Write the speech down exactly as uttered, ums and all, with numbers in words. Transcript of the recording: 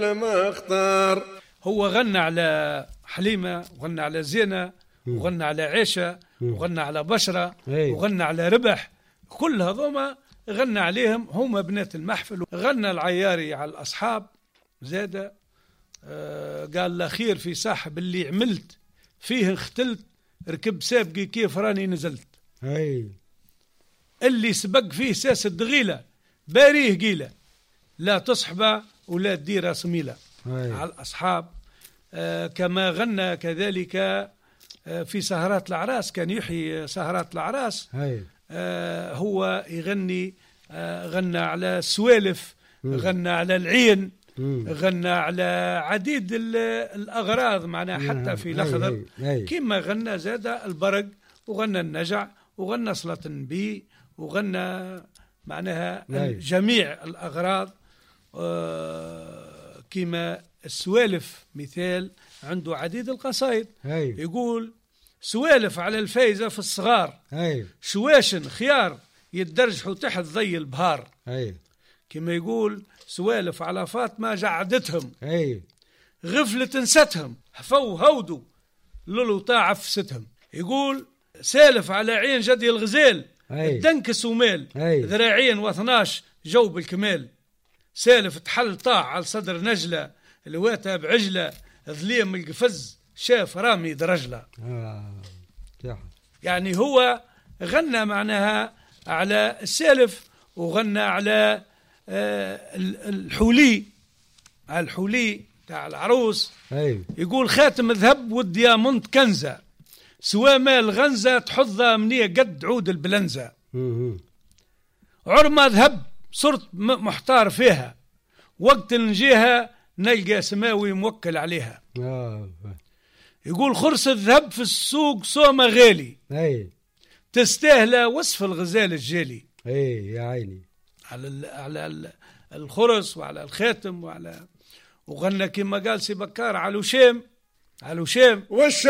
ما اختار. هو غنى على حليمة وغنى على زينة وغنى على عيشة وغنى على بشرة وغنى على ربح، كل هذوما غنى عليهم هما بنات المحفل. غنى العياري على الأصحاب زادة، آه قال لا خير في صاحب اللي عملت فيه اختلت، ركب سابقي كيف راني نزلت. أي. اللي سبق فيه ساس الدغيلة باريه قيلة، لا تصحبه ولا تدير صميلة. أي. على الأصحاب. آه كما غنى كذلك آه في سهرات الأعراس، كان يحيي سهرات الأعراس. أي. آه هو يغني، آه غنى على السوالف، غنى على العين، مم. غنى على عديد الأغراض معناها حتى في الأخضر. كما غنى زاد البرق وغنى النجع وغنى صلاة النبي وغنى معناها أي. جميع الأغراض. آه كما السوالف مثال عنده عديد القصائد. أي. يقول سوالف على الفايزة في الصغار، أي. شواشن خيار يتدرجحوا تحت ضي البهار. أي. كما يقول سوالف على فاطمة جعدتهم، أي. غفلة نستهم حفو هودوا لولو عفستهم. يقول سالف على عين جدي الغزال، أي. الدنكس ومال، أي. ذراعين واثناش جو بالكمال. سالف تحل طاع على صدر نجلة الواتها بعجلة ظليم القفز شاف رامي درجلة. آه. يعني هو غنى معناها على السالف وغنى على آه الحولي، على الحولي تاع العروس. أي. يقول خاتم ذهب والديامونت كنزة، سوا مال غنزة تحظها منية قد عود البلنزة. عرمة ذهب صرت محتار فيها، وقت نجيها نلقى سماوي موكل عليها. آه. يقول خرس الذهب في السوق سومة غالي، أي. تستاهل وصف الغزال الجالي. أي يا عيني على ال على ال الخرس وعلى الخاتم وعلى. وغنى كما قال سي بكار على وشام، على وشام وش